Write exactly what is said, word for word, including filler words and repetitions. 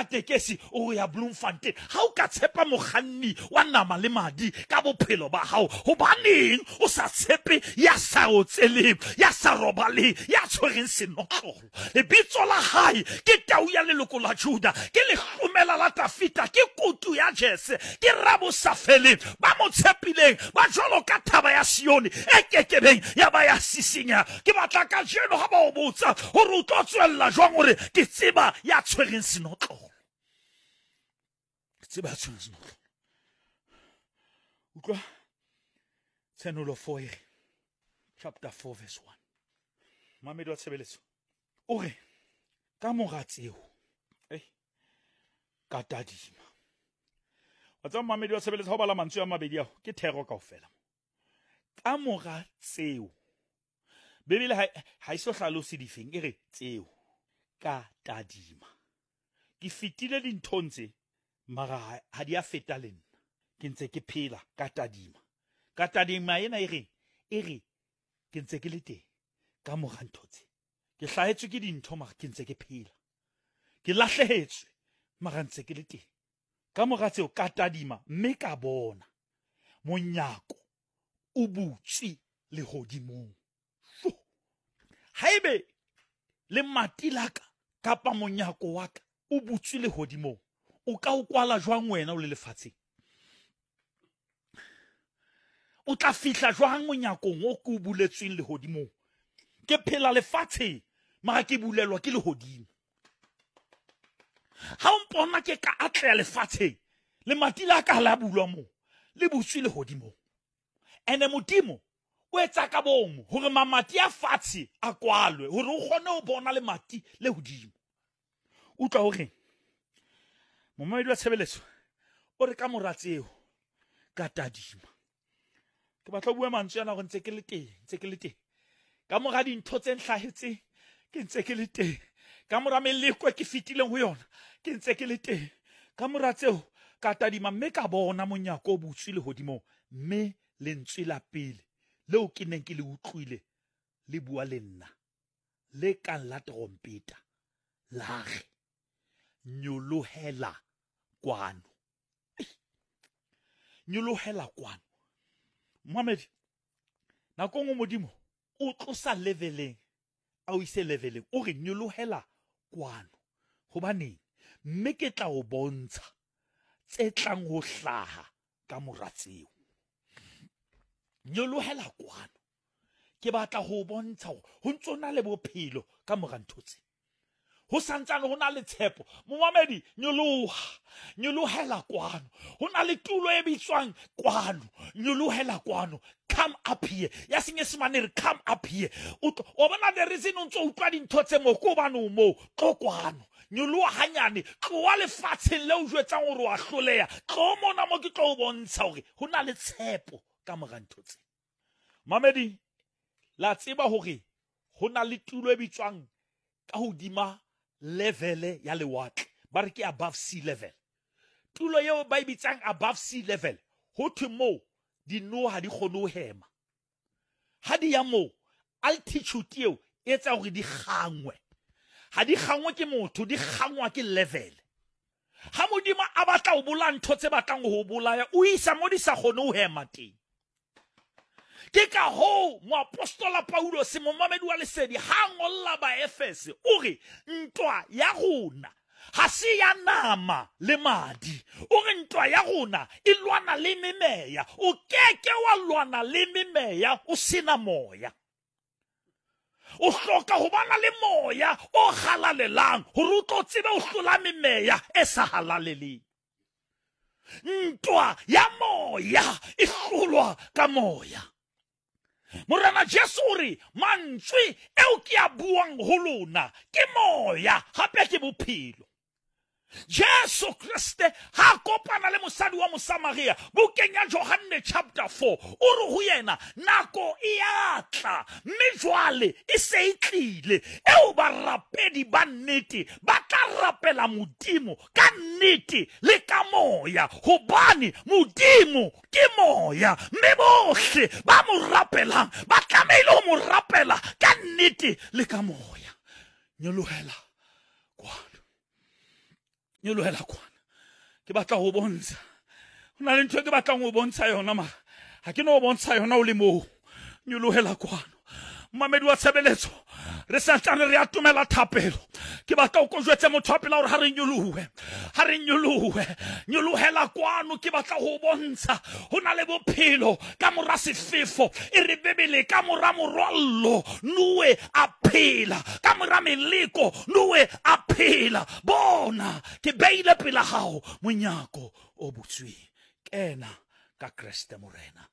tekesi o ya Bloemfontein. Ha o ka tshepa mokganni wa nama le madi ka bophelo ba hao, hobaneng o sa tshepe ya sa otseleng, ya sa robaleng, ya tshwereng senotlolo? Lebitso la hae ke tau ya leloko la Juda, ke lehlomela la Tafita, ke kutu ya Jese, ke rabosafeleng. Ba mo tshepileng ba jwalo ka thaba ya Sione e kekebeng ya ba ya sisinya. Ke batla kajeno ha ba o botsa hore o tlo tswella jwang, hore ke tseba ya tshwereng senotlolo, ke tseba ya tshwereng senotlolo. Utlwa Tshenolo four e re, chapter four verse one, mamedi wa tshebeletso o re, ka mora tseo eh ka tadima. Wa tseba, mamedi wa tshebeletso, ha o bala mantswe a mabedi ao ke thero kaofela. Ka mora tseo, Bibele ha ha e so hlalose difeng, e re tseo ka tadima. Ke fetile dinthong tse, mara ha ha di a feta le nna, ke ntse ke phela. Ka tadima, ka tadima ena e reng? E re ke ntse ke le teng ka mora ntho tse. Ke hlahetswe ke dintho, mara ke ntse ke phela. Ke lahlehetswe, mara ntse ke le teng. Ka mora tseo ka tadima, mme ka bona monyako o butswe lehodimong. Sho! Haebe lemati la ka kapa monyako wa ka o butswe lehodimong, o ka o kwala jwang wena o le lefatsheng? O tla fihla jwang monyakong o ke o buletsweng lehodimong? Ke phela lefatsheng, mara ke bulelwa ke lehodimo. Ha o mpona ke ka atleha lefatsheng, lemati la ka ha la bulwa moo, le butswe lehodimong. Ene Modimo o etsa ka bomo hore mamati a fatshe a kwalwe hore o kgone ho bona lemati le hodimo. Utlwa hore momamedi wa tshebeletso o re, ka mora tseo ka tadima. Ke batla ho bua mantswe ana hore ntse ke le teng, ntse ke le teng ka mora dintho tse nhlahetseng, ke ntse ke le teng ka mora meleko e ke fetileng ho yona, ke ntse ke le teng. Ka mora tseo ka tadima, mme ka bona monyako o butswe lehodimong, mme lentswe la pele leo ke neng ke le utlwile le bua le nna le kang la terompeta la re, nyolohela kwano. Ei, nyolohela kwano. Mohamedi, nako nngwe Modimo o tlosa leveleng a o ise leveleng, o re nyolohela kwano. Hobaneng? Mme ke tla o bontsha tse tlang ho hlaha ka mora tseo. Nyolohela kwano, ke batla ho bontsha hore ho ntso na le bophelo ka mora ntho tse, ho santsane ho na le tshepo. Momamedi, nyoloha, nyolohela kwano. Ho na le tulo e bitswang kwano. Nyolohela kwano, come up here. Ya Senyesemane re come up here. O tlo- o bona the reason o ntso utlwa dintho tse mo ke hobane o moo. Tlo kwano, nyoloha hanyane, tloha lefatsheng le o jwetsang hore wa hloleha, tlo mona mo ke tlo o bontsha hore ho na le tshepo ka mora ntho tse. Mamedi, la tseba hore ho na le tulo e bitswang ka hodima level ya lewatle, ba re ke above sea level. Tulo eo ba e bitsang above sea level, ho thwe moo dinoha ha di kgone ho hema ha di ya moo. Altitude eo e etsa hore di kgangwe. Ha di kgangwe ke motho, di kgangwa ke level. Ha Modimo a batla ho bolaya ntho tse batlang ho bolaya, o isa mo di sa kgone ho hema teng. Ke ka hoo moapostola Paulus, momamedi wa lesedi, ha ngolla Baefese o re ntwa ya rona ha se ya nama le madi, o re ntwa ya rona e lwana le memeya. O keke wa lwana le memeya o sena moya. O hloka ho bana le moya o halalelang hore o tlo tsebe ho hlola memeya e sa halaleleng. Ntwa ya moya e hlolwa ka moya. Morena Jesu o re, mantswe eo ke a buang ho lona ke moya, hape ke bophelo. Jesu Kriste ha kopana le mosadi wa Mosamaria bukeng ya Johanne chapter four, o re ho yena, nako e a tla, mme jwale e se e tlile, eo barapedi ba nnete ba tla rapela Modimo ka nnete le ka moya, hobane Modimo ke moya, mme bohle ba mo rapelang ba tlamehile ho mo rapela ka nnete le ka moya. Nyolohela kwano. Nyolohela kwana. Ke batla ho bontsha. Ho na le ntho e ke batlang ho bontsha yona mara ha ke no bontsha yona o le moo. Nyolohela kwano. Momamedi wa tshebeletso, re santsane re atomela thapelo. Ke batla o ko jwetse motho wa pela hore ha re nyolohe, ha re nyolohe, nyolohela kwano. Ke batla ho bontsha ho na le bophelo ka mora sefefo. E re Bibele ka mora morwallo Noe a phela, ka mora meleko Noe a phela. Bona ke beile pela hao monyako o butsweng, kena ka Kreste Morena.